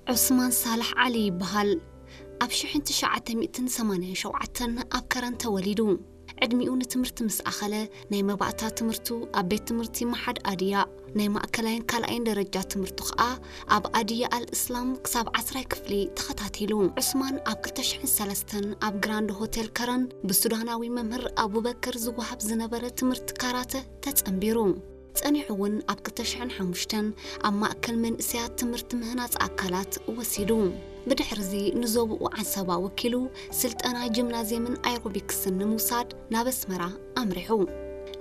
ዑስማን ሳልሕ ዓሊ ይበሃል። ኣብ ሽሕን ትሽዓተ ሚእትን ሰማንያን ሸውዓተን ኣብ ከረን ተወሊዱ። ዕድሚኡ ንትምህርቲ ምስ ኣኸለ፣ ናይ መባእታ ትምህርቱ ኣብ ቤት ትምህርቲ መሓድ ኣድያ፣ ናይ ማእከላይን ካልኣይን ደረጃ ትምህርቱ ኸኣ ኣብ ኣድያ ኣል እስላም ክሳብ ዓስራይ ክፍሊ ተኸታቲሉ። ዑስማን ኣብ ክልተ ሽሕን ሰለስተን ኣብ ግራንድ ሆቴል ከረን ብሱዳናዊ መምህር ኣቡበከር ዝወሃብ ዝነበረ ትምህርቲ ካራተ ተጸንቢሩ። ጸኒሑ እውን ኣብ ክልተ ሽሕን ሓሙሽተን ኣብ ማእከል መንእሰያት ትምህርቲ ምህናጽ ኣካላት ወሲዱ። ብድሕርዚ ንዞብኡ ዓንሰባ ወኪሉ ስልጠና ጂምናዝየምን ኣይሮቢክስን ንምውሳድ ናብ ኣስመራ ኣምሪሑ።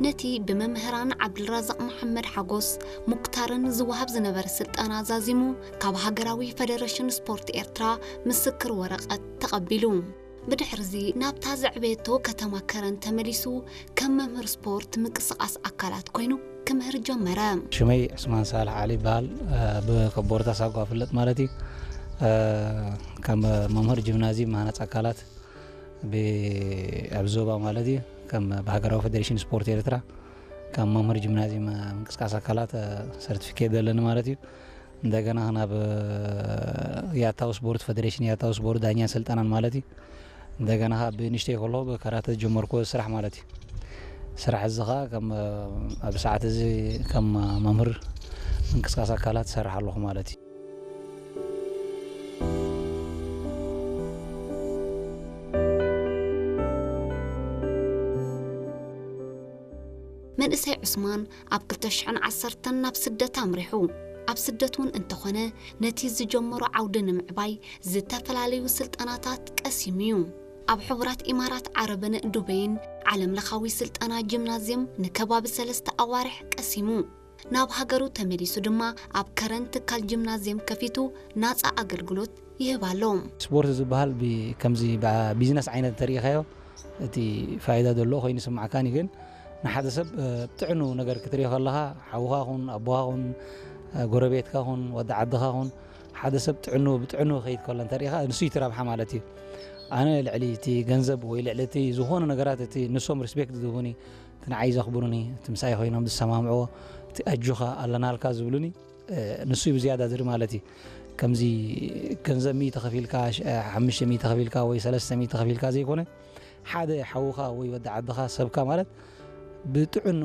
ነቲ ብመምህራን ዓብዱልራዛቕ መሓመድ ሓጎስ፣ ሙክታርን ዝወሃብ ዝነበረ ስልጠና ዛዚሙ፣ ካብ ሃገራዊ ፈደረሽን ስፖርት ኤርትራ ምስክር ወረቐት ተቐቢሉ። ብድሕርዚ ናብታ ዘዕበየቶ ከተማ ከረን ተመሊሱ፣ ከም መምህር ስፖርት ምንቅስቓስ ኣካላት ኮይኑ ክምህር ጀመረ። ሽመይ ዑስማን ሳልሕ ዓሊ ይበሃል። እ፣ ብከቦርታ ሳጓ ፍለጥ ማለት እዩ። እ፣ ከም መምህር ጂምናዝየም መሃነፅ ኣካላት ብ-፣ ኣብ ዞባ ማለት እዩ። ከም ብሃገራዊ ፈደሬሽን ስፖርት ኤርትራ ከም መምህር ጂምናዝየም ምንቅስቃስ ኣካላት፣ እ፣ ሰርቲፊኬት ዘለኒ ማለት እዩ። እንደገና ናብ፣ እ፣ ያታው ስፖርት ፈደሬሽን፣ ያታው ስፖርት ዳኛን ስልጠናን ማለት እዩ። እንደገና ካብ ብንእሽተይ ከሎ ብካራተ ዝጀመርኩዎ ስራሕ ማለት እዩ። ስራሕ እዚ ኸዓ ከም፣ እ፣ ኣብ ሰዓት እዚ ከም መምህር ምንቅስቃስ ኣካላት እሰርሕ ኣለኹ ማለት እዩ። መንእሰይ ዑስማን ኣብ ክልተ ሽሕን ዓሰርተን ናብ ስደት ኣምሪሑ። ኣብ ስደት እውን እንተኾነ፣ ነቲ ዝጀመሮ ዓውዲ ንምዕባይ ዝተፈላለዩ ስልጠናታት ቀሲሙ እዩ። ኣብ ሕቡራት ኢማራት ዓረብን ዱበይን ዓለም ለኻዊ ስልጠና ጂምናዝየም ንከባቢ ሰለስተ ኣዋርሕ ቀሲሙ። ናብ ሃገሩ ተመሊሱ ድማ ኣብ ከረን ትካል ጂምናዝየም ከፊቱ ናጻ ኣገልግሎት ይህብ ኣሎ። ስፖርት ዝበሃል ብ-፣ ከምዚ ብ-፣ ቢዝነስ ዓይነት እንተሪኢኻዮ፣ እቲ ፋይዳ ዘለዎ ኮይኑ ይስማዓካን እዩ። ግን ንሓደ ሰብ፣ እ፣ ብጥዕኑ ነገር ክትሪኦ ከለኻ፣ ሓውኻ ኹን፣ ኣቦኻ ኹን፣ እ፣ ጎረቤትካ ኹን፣ ወዲ ዓድኻ ኹን፣ ሓደ ሰብ ጥዕኑ፣ ብጥዕኑ ክኸይድ ከሎ እንተሪኢኻ፣ ንሱ እዩ እቲ ረብሓ ማለት እዩ። ኣነ ልዕሊ እቲ ገንዘብ ወይ ልዕሊ እቲ ዝኾነ ነገራት፣ እቲ ንሶም ሪስፔክት ዝህቡኒ፣ እቲ ንዓይ ዘኽብሩኒ፣ እቲ ምሳይ ኮይኖም ዝሰማምዕዎ፣ እቲ ኣጆኻ ኣለናልካ ዝብሉኒ፣ እ፣ ንሱ እዩ ብዝያዳ ዝርኢ ማለት እዩ። ከምዚ ገንዘብ ሚእቲ ከፊልካ፣ ሽ-፣ ሓሙሽተ ሚእቲ ከፊልካ ወይ ሰለስተ ሚእቲ ከፊልካ ዘይኮነ፣ ሓደ ሓውኻ ወይ ወዲ ዓድኻ፣ ሰብካ ማለት ብጥዕኑ